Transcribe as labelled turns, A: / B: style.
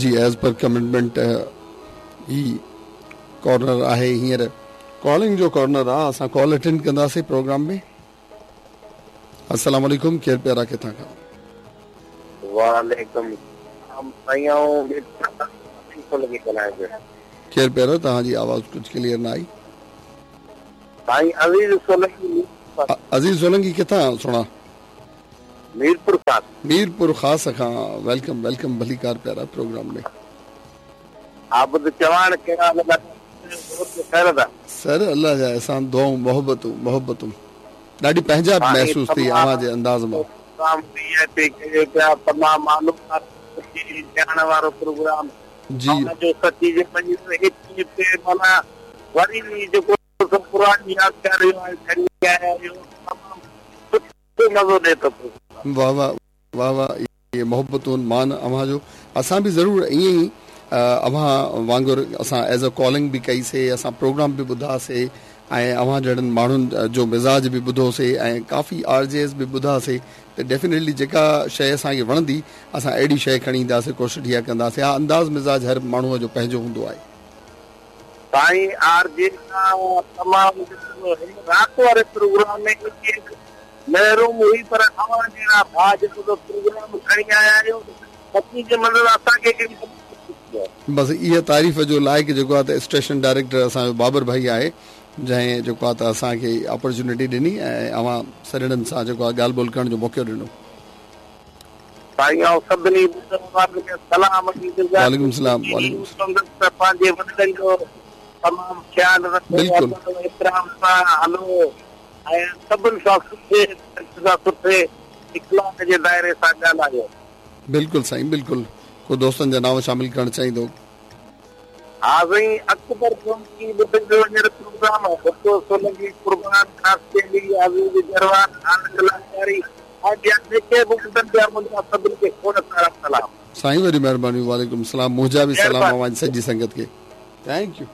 A: جي as per commitment هي corner آهي هينئر ڪالنگ جو ڪارنر آ اسان ڪال اٽينڊ ڪنداسين پروگرام ۾. السلام عليڪم ڪير پيارا ڪٿان کان.
B: وعليڪم السلام سائين آئون ميرپور خاص مان عزيز سولنگي ڳالهايان پيو.
A: ڪير پيارا توهان جي آواز ڪجهه ڪليئر نه آئي.
B: سائين عزيز سولنگي ميرپور خاص.
A: عزيز سولنگي ڪٿان سهڻا.
B: ميرپور خاص.
A: ميرپور خاص کان welcome welcome ڀليڪار پيارا پروگرام ۾.
B: عابد چواڻ ڪهڙا حال لاڏا خير ادا.
A: سر الله جا احسان دعائون محبتون محبتون ڏاڍي پنهنجائپ
B: سائين
A: محسوس ٿي
B: تمام
A: اوهان جي انداز مان.
B: پروگرام وي آء پي ڪيو پيا تمام معلومات سٺي ڄاڻ وارو پروگرام
A: جي.
B: اوهان جو سچي جي پنجين ايڪويهه تي معنيٰ وري جيڪو سو پراڻي يادگار آهي کڻي آيا آهيو تمام سٺو مزو ڏي ٿو پروگرام.
A: واه واه واه واه اهي محبتون مان اوهان جو اسان به ضرور ائين ئي اوهان وانگر اسان ايز ا ڪالنگ به ڪئي سي اسان پروگرام به ٻڌا سي ۽ اوهان جهڙن ماڻهن جو مزاج به ٻڌو سي ۽ ڪافي آر جيز به ٻڌا سي ته ڊيفينيٽلي جيڪا شئي اسان کي وڻندي اسان اهڙي شئي کڻي اينداسي ڪوشش اها ڪنداسي ها انداز مزاج هر ماڻهو جو پنهنجو هوندو آهي.
B: سائين آر جي کان تمام هن رات واري پروگرام ۾ ايڪي محروم هئي پر اوهان جهڙا ڀاء جيڪو ته پروگرام کڻي آيا آهيو سچي جي منزل اسان کي هڪڙي وڏي خوشي ٿي آهي.
A: بس اها تعريف جو لائق جيڪو آهي ته اسٽيشن ڊائريڪٽر اسان جو بابر ڀائي آهي جنهن جيڪو آهي ته اسان کي اپرچونٽي ڏني ۽ اوهان سڄڻن سان جيڪو آهي ڳالهه ٻولهه ڪرڻ جو موقعو ڏنو.
B: سائين آئون سڀني ٻڌڻ وارن کي سلام ڏيندس
A: وعليڪم السلام وعليڪم السلام.
B: ڪندس ته پنهنجي وڏڙن جو تمام خيال رکو
A: بلڪل.
B: ادب و احترام سان هلو ۽ سڀن سان سٺي سان سٺي اخلاق جي دائري سان ڳالهايو.
A: بلڪل سائين بلڪل ڪو دوستن جا نانء شامل ڪرڻ چاهيندو.
B: ها سائين اڪبر سولنگي ٻڌن جو هينئر پروگرام ڀٽو سولنگي قربان خاصخيلي عزيز جروار خالق لاشاري ۽ ٻيا جيڪي به ٻڌن پيا منهنجا سڀني کي کوڙ سارا سلام.
A: سائين وڏي مهرباني وعليڪم السلام منهنجا به سلام
B: مهرباني.
A: اوهان جي سڄي سنگت کي thank you.